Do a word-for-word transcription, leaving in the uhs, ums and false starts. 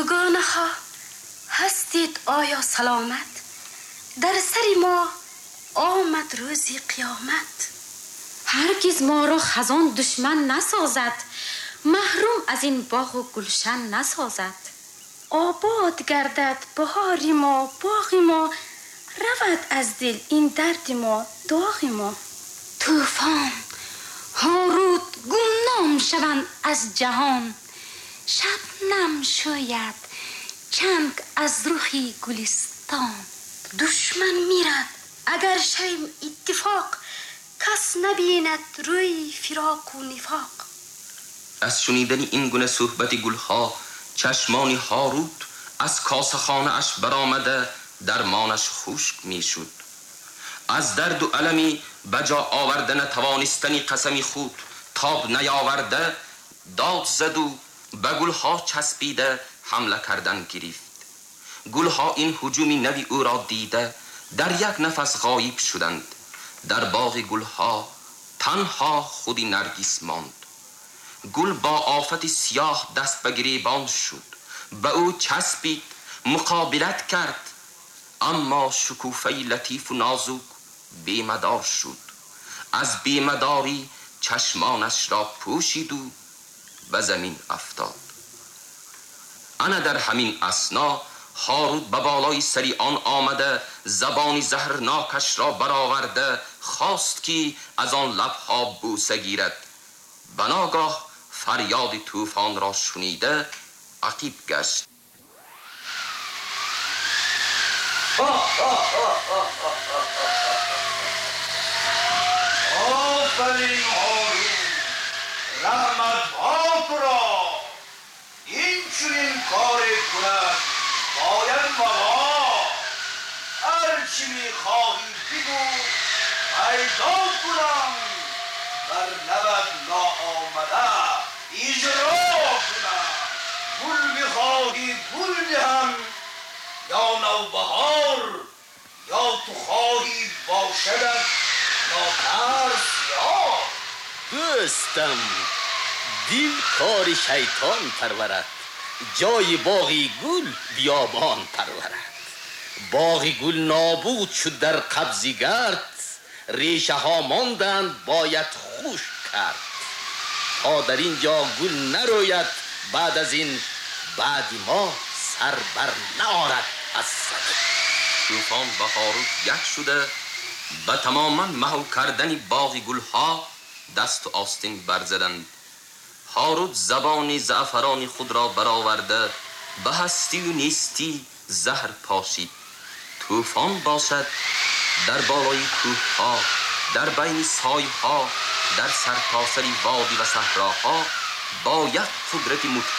Дугонаҳо ҳастед оё саломат? Дар сари мо омад рӯзи қиёмат. Ҳаргиз моро хазон душман насозад, маҳрум аз ин боғу гулшан насозад. Обод гардад баҳори мо, боғи мо, равад аз дил ин дарди мо, доғи мо. Тӯфон Ҳорут гумном шаванд аз ҷаҳон, шабнам шӯяд чанг аз рухи гулистон. Душман мирад агар шавем иттифоқ, кас набинад рӯи фироқу нифоқ. Аз шунидани ин гуна суҳбати гулҳо чашмони Ҳорут аз косахонааш баромада дармонаш хушк мешуд. Аз дарду алами ба ҷо оварда натавонистани қасами худ тоб наёварда дод заду ба гулҳо часпида ҳамла кардан гирифт. Гулҳо ин ҳуҷуми нави ӯро дида дар як нафас ғоиб шуданд. Дар боғи гулҳо танҳо худи Наргис монд. Гул бо офати сиёҳ даст ба гиребон шуд, ба ӯ часпид, муқобилат кард, аммо шукуфаи латифу нозук бемадор шуд. Аз бемадорӣ чашмонашро пӯшиду ба замин афтод. Ана дар ҳамин асно Ҳорут ба болои сари он омада забони заҳрнокашро бароварда хост ки аз он лабҳо бӯса гирад. Ба ногоҳ фарёди тӯфонро шунида ақиб гашт. Офарин Ҳорут, раҳматҳо туро! Ин чунин коре кунад бояд вафо. Ҳар чӣ мехоҳӣ бигӯ, пайдо кунам, бар лабат ноомада иҷро кунам. Гул мехоҳӣ гул диҳам ё навбаҳор, ё ту хоҳӣ бошадат нотарс ёр. Дӯстам, дил кори шайтон парварад, ҷои боғи гул биёбон парварад. Боғи гул нобуд шуд дар қабзи гард, решаҳо монданд бояд хушк кард. То дар ин ҷо гул нарӯяд, баъд аз ин баъди мо сар бар наорад аз замин. Тӯфон ва Ҳорут як шуда ба тамоман маҳв кардани боғи гулҳо дасту остин барзаданд. Ҳорут забони заъфарони худро бароварда ба ҳастию нестӣ заҳр пошид. Тӯфон бошад дар болои кӯҳҳо, дар байни сойҳо, дар сартосари водӣ ва саҳроҳо бо як қудрати мудҳиш